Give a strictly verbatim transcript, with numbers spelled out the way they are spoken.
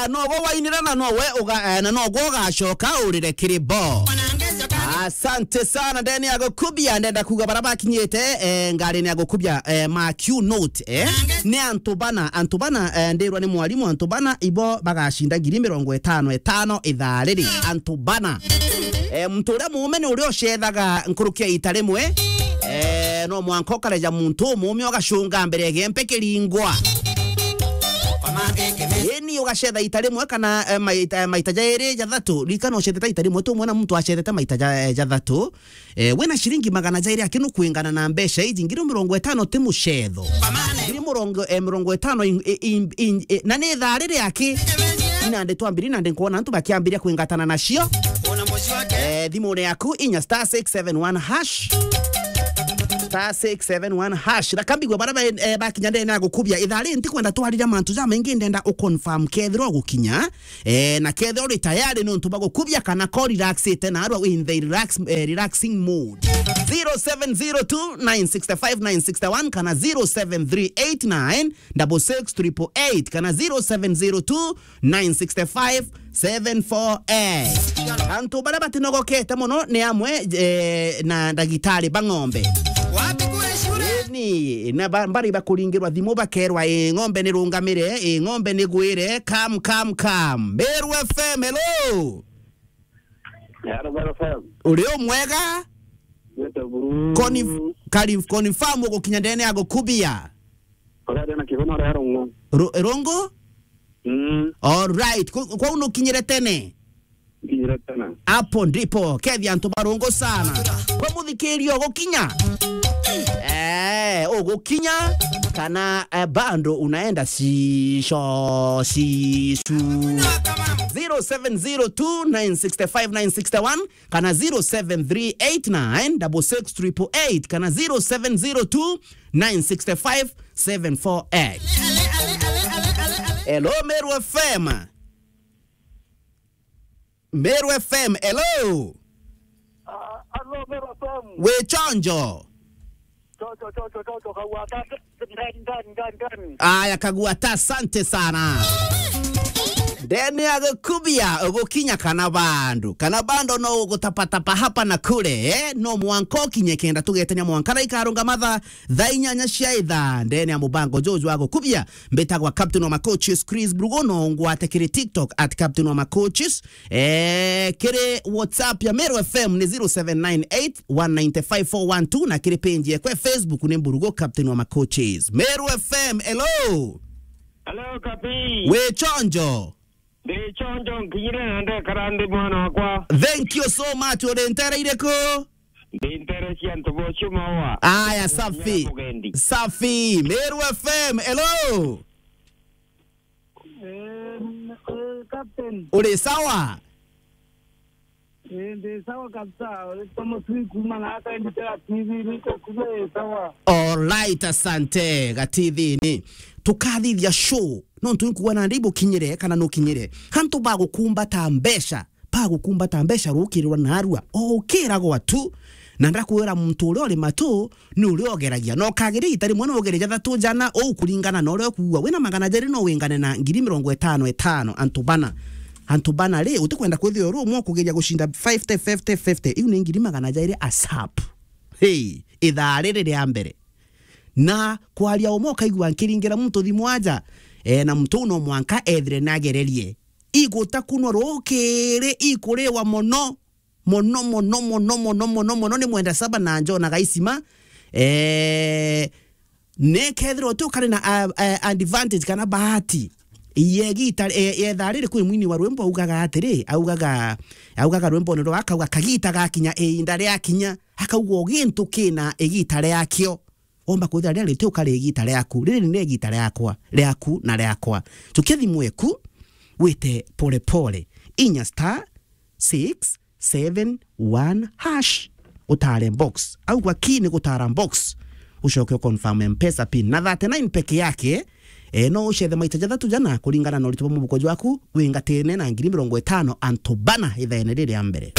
Nogo wainira na nowe uga, eh, na nogo ugacoka urire kiri bo. Asante sana, ndene ya gukubia, ndenda kuga bara bakinyite, eh, ngari ni ya gukubia, eh, ma Q note, eh. Ni antu bana, antu bana, eh, ndirwa ni mwarimu, antu bana ibo bagacinda ngiri mirongo itano itano ithaa riri. Antu bana. Eh, muntu uria muume ni uria ucethaga nkuruki ya ita rimwe. Eh, no mwanka ukareja muntu umume ugacunga mbere ya gempe kiringwa. Eni ugacetha ita rimwe kana, eh, maita, maita jairi jathatu. Ririkana ucethete ita rimwe, tu mwena muntu acethete maita ja, eh, jathatu. Eh, wina ciringi magana jairi aki nukwingana na mbeca iji, ngiri mirongo itano ti mucetho. Ngiri mirongo, eh, mirongo itano in, in, in, in, eh, na ni ithaa riri aki. Nandi twambiri, nandi nkwona antu bakiambiria kwingatana nacio. Eh, thimune yaku inya star six seven one hash. Star six seven one hash. Na kambigwe bara ba, eh, bakinya ndene ya gukubia. Ithaa riri ntikwenda twarire mantu jamaingi, ndenda uconfirm kethira ugukinya. Eh, na kethira uri tayari ni untu bagukubia kana ko relaxite na arwa in the relax, eh, relaxing mood. Zero seven zero two nine six five nine six one kana zero seven three eight nine double six triple eight kana zero seven zero two nine six five seven four eight. Antu baria batinogokete mono ni amwe, eh, na ndagitari ba ng'ombe. Ni na ba, bari bakuringirwa thimu bakerwa, "Ii ng'ombe ni rungamire, ii ng'ombe ni gwire, come, come, come." Meru F M, hello. Hello, Meru F M. Uri u mwega? Nite buru. Conif-, Conif-, confirm ugukinya ndene ya gukubia. Uraria na Kiguna ria Rungu. Ru-, Rungu? Mm. All right. Ku-, kwau nukinyire tene? Nkinyire tene. Hapo ndipo. Kethi antu ba Rungu sana. Kwa muthikirio gukinya? Eh, ugukinya kana, eh, bado unaenda sisho, sisu. Zero seven zero two nine six five nine six one kana zero seven three eight nine double six triple eight kana zero seven zero two nine six five seven four eight. Hello, Meru F M. Meru F M, hello. Ah, hello, Meru F M. Wi chonjo? Chonjo, chonjo, chonjo, Kagwata, ndani, ndani, ndani, ndani. Aya, Kagwata, asante sana. Ndene ya gukubia, ugukinya kana bando. Kana bando no ugutapatapa hapa na kule, eh? No mwanka ukinye kenda tugetania mwanka na ikarunga matha thaa inyanya cia ithaa. Ndene ya mubango juju wa gukubia, mbitagwa Captain wa Macoaches, Chris Brugo, no ngwate kiri TikTok at Captain wa Macoaches. Eh, kiri WhatsApp ya Meru F M ni zero seven nine eight one nine five four one two, na kiri page yekwe Facebook ni Mburugo Captain wa Macoaches. Meru F M, hello. Hello, Kapi. Wi chonjo? Ndi chonjo, nkinyire na ndekara ndi mwana wakwa. Thank you so much. Uri ntere iriku? Ndi ntere cia antu bocio mawa. Aya, safi. Mugendi. Safi. Meru F M, hello. Eh, eh, Captain. Uri sawa? Eh, ndi sawa kabisa. Uri kama tu kuma na hata nditera T V niko kule sawa. All right, asante. Ga T V ni. Tukathithia show. No ntu nkuwa na ndi bukinyire kana nukinyire. Hantu bagukumbata mbeca. Bagukumbata mbeca rukirirwa narua. O ukiragwa tu. Na ndakwira muntu uria uri matu ni uria ugeragia. Na ukageria ita rimwe no ugere jathatu jana, uu kuringana na uria ukuua. Wina magana jeri no wingane na ngiri mirongo itano itano, antu bana. Antu bana ri, utikwenda kwithia uri umwe ukugeria gucinda fifty, fifty, fifty. Iu ni ngiri magana jeri asap. Hey, ithaa riri ria mbere. Na kwaria umwe ukaigua nkiringira muntu thimu aja, eh, na muntu uu no mwanka ethire nagererie. Igutakunwa rukiri, ikuriwa mono. Mono, mono, mono, mono, mono, mono, ni mwenda saba na njonaga isima. Eh, nekethirwa uti ukari na, ah, eh, advantage kana bahati. Yegita, eh, yetha riri kwi mwini wa rwimbo augaga atiri, augaga, augaga rwimbone rwa akauga, "Kagita gakinya, iinda riakinya." Akauga, "O gintu kina igita riakio." Womba kwithira riria riti ukari igita riaku. Riri ni igita riakwa, riaku na riakwa. Tukia thimu eku, wite pole pole. Inya star six seven one hash. Utare box. Au gwa key ni gutara box. Ucoke u confirm M-Pesa pin. Na thirty-nine peke yake, eh, no ucethe maita jathatu jana kuringana na urito bwa mubuko jwaku, wingatene na ngiri mirongo itano antu bana ithaene riri ria mbere.